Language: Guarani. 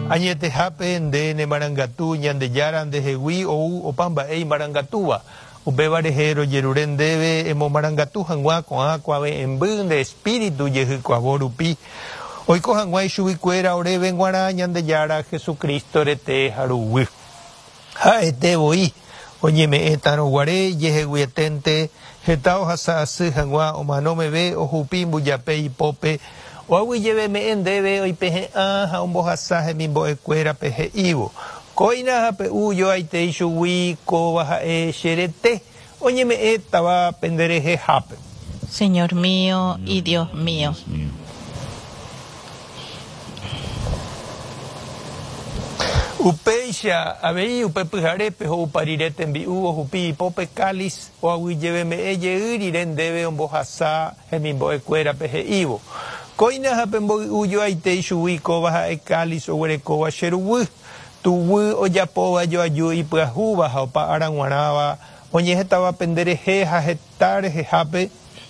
Añetehápe nde nemarangatu Ñandejára ndehegui ou opa mba'e imarangatúva. Upéva rehe rojerure ndéve emomarangatu hag̃ua ko'ã kuave'ẽmby nde Espíritu jehykuavo rupi, oiko hag̃ua ichuguikuéra oréve g̃uarã Ñandejára Jesucristo rete ha ruguy. Ha'ete voi oñeme'ẽtarõ guare ijeheguieténte heta ohasa asy hag̃ua omano meve ohupi mbujape ipópe, oaguyjeveme'ẽ ndéve oipehe'ã ha ombohasa hemimbo'ekuérape he'ívo, Kóina ha pe'u joaite ichugui kóva ha'e che rete, oñeme'ẽtava penderehehápe. Señor mío y Dios mío. Upéicha avei upe pyharépe ho'upa rire tembi'u ohupi ipópe cáliz oaguyjeveme'ẽ jey rire ndéve ombohasa hemimbo'ekuérape he'ívo, Kóina ha pemboy'u joaite ichugui kóva ha'e cáliz oguerekóva che ruguy, tuguy ojapóva joaju ipyahúva ha opa ára g̃uarãva oñehetava penderehe ha heta rehehápe.